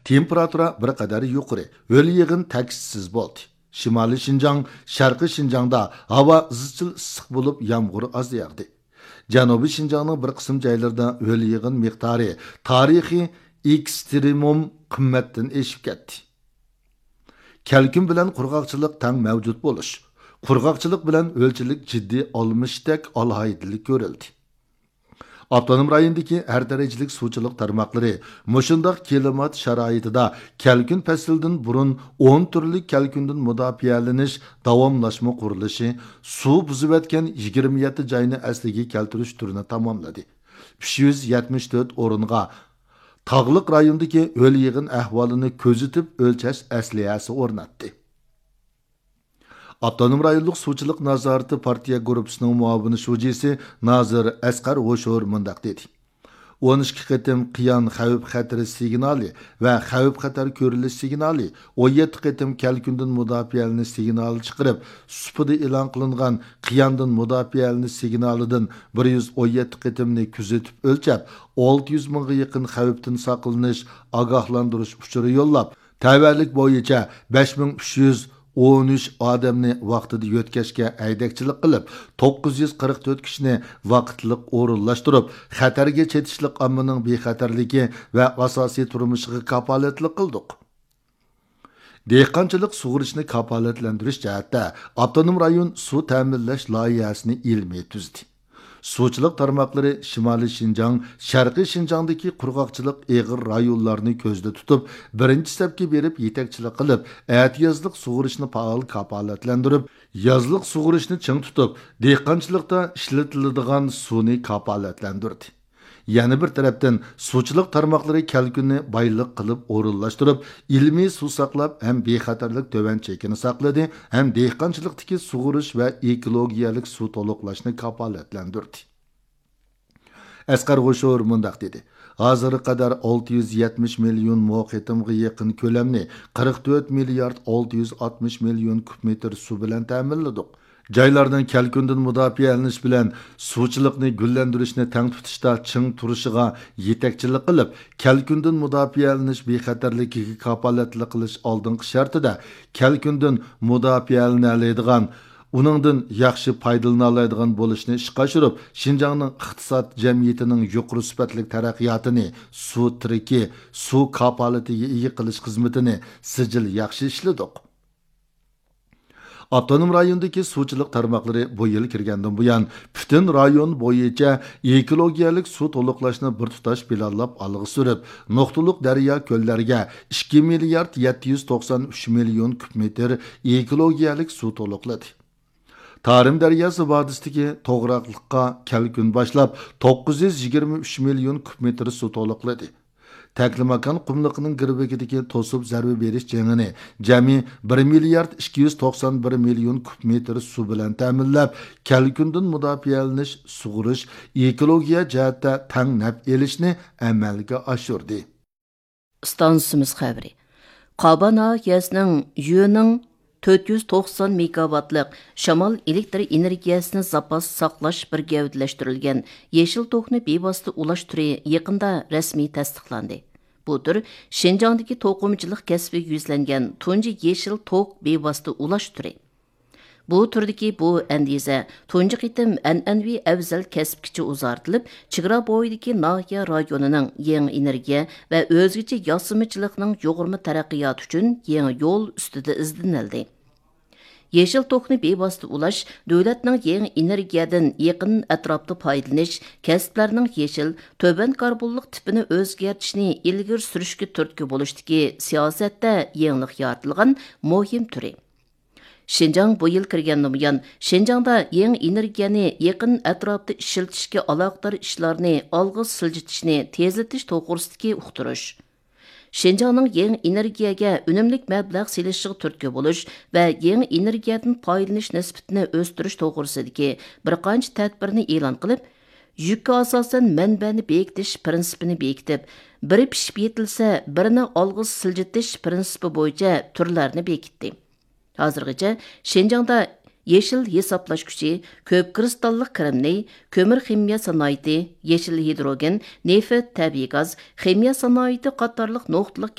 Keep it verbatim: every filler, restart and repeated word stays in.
تېمپېراتۇرا بىر قەدەر يۇقىرى، ھۆل يېغىن تەكشىسىز بولدى. شىمالىي شىنجاڭ، شەرقىي شىنجاڭدا ھاۋا ئىزچىل ئىسسىق بولۇپ، يامغۇر ئاز ياغدى. جەنۇبىي شىنجاڭنىڭ بىر قىسىم جايلىرىدا ھۆل يېغىن مىقدارى تارىخىي ئېكسترېمۇم قىممەتتىن ئېشىپ كەتتى. كەلكۈن بىلەن قۇرغاقچىلىق تەڭ مەۋجۇت بولۇش، قۇرغاقچىلىق بىلەن ھۆلچىلىك جىددىي ئالمىشىشتەك ئالاھىدىلىك كۆرۈلدى. ئاپتونوم رايوندىكى ھەر دەرىجىلىك سۇچىلىق تارماقلىرى مۇشۇنداق كىلىمات شارائىتىدا كەلكۈن پەسلىدىن بۇرۇن ئون تۈرلۈك كەلكۈندىن مۇداپىئەلىنىش داۋاملاشما قۇرۇلۇشى، سۇ بۇزۇۋەتكەن يىگىرمە يەتتە جاينى ئەسلىگە كەلتۈرۈش تۈرىنى تاماملىدى. ئۈچ يۈز يەتمىش تۆت ئورۇنغا تاغلىق رايوندىكى ھۆل يېغىن ئەھۋالىنى كۆزىتىپ ئۆلچەش ئەسلىھەسى ئورناتتى. ئاپتونوم رايونلۇق سۇچىلىق نازارىتى پارتىيە گۇرۇپپىسىنىڭ مۇئاۋىن شۇجىسى نازىر ئەسقەر ھوشۇر مۇنداق دېدى: ئون ئىككى قېتىم قىيان خەۋپ خەتىرى سىگنالى ۋە خەۋپ خەتەر كۆرۈلۈش سىگنالى، ئون يەتتە قېتىم كەلكۈندىن مۇداپىئەلىنىش سىگنالى چىقىرىپ، سۇپىدا ئېلان قىلىنغان قىياندىن مۇداپىئەلىنىش سىگنالىدىن بىر يۈز ئون يەتتە قېتىمنى كۆزىتىپ ئۆلچەپ، ئالتە يۈز مىڭغا يېقىن خەۋپتىن ساقلىنىش ئاگاھلاندۇرۇش ئۇچۇرى يوللاپ، تەۋەلىك بويىچە بەش مىڭ ئۈچ يۈز ئون ئۈچ ئادەمنى ۋاقتىدا يۆتكەشكە ھەيدەكچىلىك قىلىپ، توققۇز يۈز قىرىق تۆت كىشىنى ۋاقىتلىق ئورۇنلاشتۇرۇپ، خەتەرگە چېتىشلىق ئاممىنىڭ بىخەتەرلىكى ۋە ئاساسىي تۇرمۇشىغا كاپالەتلىك قىلدۇق. دېھقانچىلىق سۇغىرىشنى كاپالەتلەندۈرۈش جەھەتتە ئاپتونوم رايون سۇ تەمىنلەش لايىھەسىنى ئىلمىي تۈزدى. سۇچىلىق تارماقلىرى شىمالىي شىنجاڭ، شەرقىي شىنجاڭدىكى قۇرغاقچىلىق ئېغىر رايونلارنى كۆزدە تۇتۇپ، بىرىنچى سەپكە بېرىپ يېتەكچىلىك قىلىپ، ئەتىيازلىق سۇغىرىشنى پائال كاپالەتلەندۈرۈپ، يازلىق سۇغىرىشنى چىڭ تۇتۇپ، دېھقانچىلىقتا ئىشلىتىلىدىغان سۇنى كاپالەتلەندۈردى. يەنە بىر تەرەپتىن، سۇچىلىق تارماقلىرى كەلكۈننى بايلىق قىلىپ ئورۇنلاشتۇرۇپ، ئىلمىي سۇ ساقلاپ ھەم بىخەتەرلىك تۆۋەن چېكىنى ساقلىدى، ھەم دېھقانچىلىقتىكى سۇغۇرۇش ۋە ئېكولوگىيەلىك سۇ تولۇقلاشنى كاپالەتلەندۈردى. ئەسقەر غوشۇر مۇنداق دېدى: ھازىرغا قەدەر ئالتە يۈز يەتمىش مىليون مو قېتىمغا يېقىن كۆلەمنى قىرىق تۆت مىليارد ئالتە يۈز ئاتمىش مىليون كۇب مېتىر سۇ بىلەن تەمىنلىدۇق. جايلارنىڭ كەلكۈندىن مۇداپىئەلىنىش بىلەن سۇچىلىقنى گۈللەندۈرۈشنى تەڭ تۇتۇشتا چىڭ تۇرۇشىغا يېتەكچىلىك قىلىپ، كەلكۈندىن مۇداپىئەلىنىش بىخەتەرلىكىگە كاپالەتلىك قىلىش ئالدىنقى شەرتىدە، كەلكۈندىن مۇداپىئەلىنەلەيدىغان، ئۇنىڭدىن ياخشى پايدىلىنالايدىغان بولۇشنى ئىشقا ئاشۇرۇپ، شىنجاڭنىڭ ئىقتىساد جەمئىيىتىنىڭ يۇقىرى سۈپەتلىك تەرەققىياتىنى، سۇ تىرىكى، سۇ كاپالىتىگە ئىگە قىلىش خىزمىتىنى سىجىل ياخشى ئىشلىدۇق. ئاپتونوم رايوندىكى سۇچىلىق تارماقلىرى بۇ يىل كىرگەندىن بۇيان، پۈتۈن رايون بويىچە ئېكولوگىيەلىك سۇ تولۇقلاشنى بىر تۇتاش پىلانلاپ ئالغا سۈرۈپ، نۇقتىلىق دەريا كۆللەرگە ئىككى مىليارد يەتتە يۈز توقسان ئۈچ مىليون كۇب مېتىر ئېكولوگىيەلىك سۇ تولۇقلىدى. تارىم دەرياسى ۋادىسىدىكى توغراقلىققا كەلكۈن باشلاپ، توققۇز يۈز يىگىرمە ئۈچ مىليون كۇب مېتىر سۇ تولۇقلىدى. تەكلىماكان قۇملۇقىنىڭ گىرۋىكىدىكى توسۇپ زەربە بېرىش جېڭىنى جەمئىي بىر مىليارد ئىككى يۈز توقسان بىر مىليون كۇب مېتىر سۇ بىلەن تەمىنلەپ، كەلكۈندىن مۇداپىئەلىنىش، سۇغىرىش، ئېكولوگىيە جەھەتتە تەڭ نەپ ئېلىشنى ئەمەلگە ئاشۇردى. ئىستانسىمىز خەۋىرى. قابا ناھىيەسىنىڭ يۈنىڭ تۆت يۈز توقسان مېگاۋاتلىق شامال ئېلېكتر ئېنېرگىيەسىنى زاپاس ساقلاش بىر گەۋدىلەشتۈرۈلگەن يېشىل توكنى بىۋاسىتە ئۇلاش تۈرى يېقىندا رەسمىي تەستىقلاندى. بۇ تۈر شىنجاڭدىكى توقۇمىچىلىق كەسپىگە يۈزلەنگەن تۇنجى يېشىل توك بىۋاسىتە ئۇلاش تۈرى. بۇ تۈردىكى بۇ ئەندىزە تۇنجى قېتىم ئەنئەنىۋى ئەۋزەل كەسىپكىچە ئۇزارتىلىپ، چېگرا بويىدىكى ناھىيە رايونىنىڭ يېڭى ئېنېرگىيە ۋە ئۆزگىچە ياسىمىچىلىقنىڭ يۇغۇرما تەرەققىياتى ئۈچۈن يېڭى يول ئۈستىدە ئىزدىنىلدى. يېشىل توكنى بىۋاسىتە ئۇلاش دۆلەتنىڭ يېڭى ئېنېرگىيەدىن يېقىن ئەتراپتا پايدىلىنىش، كەسىپلەرنىڭ يېشىل، تۆۋەن كاربونلۇق تىپىنى ئۆزگەرتىشنى ئىلگىرى سۈرۈشكە تۈرتكە بولۇشتىكى سىياسەتتە يېڭىلىق يارىتىلغان مۇھىم تۈرى. شىنجاڭ بۇ يىل كىرگەندىن بۇيان، شىنجاڭدا يېڭى ئېنېرگىيەنى يېقىن ئەتراپتا ئىشلىتىشكە ئالاقىدار ئىشلارنى ئالغا سىلجىتىشنى تېزلىتىش توغرىسىدىكى ئۇقتۇرۇش. شىنجاڭنىڭ يېڭى ئېنېرگىيەگە ئۈنۈملۈك مەبلەغ سېلىشىغا تۈرتكە بولۇش ۋە يېڭى ئېنېرگىيەدىن پايدىلىنىش نىسبىتىنى ئۆستۈرۈش توغرىسىدىكى بىر قانچە تەدبىرنى ئېلان قىلىپ، يۈككە ئاساسەن مەنبەنى بېكىتىش پىرىنسىپىنى بېكىتىپ، بىرى پىشىپ يېتىلسە، بىرىنى ئالغا سىلجىتىش پىرىنسىپى بويىچە تۈرلەرنى بېكىتتى. ھازىرغىچە شىنجاڭدا يېشىل ھېسابلاش كۈچى، كۆپ كىرىستاللىق كىرىمنى، كۆمۈر خىمىيە سانائىتى، يېشىل ھىدروگېن، نېفىت، تەبىئىي گاز، خىمىيە سانائىتى قاتارلىق نۇقتىلىق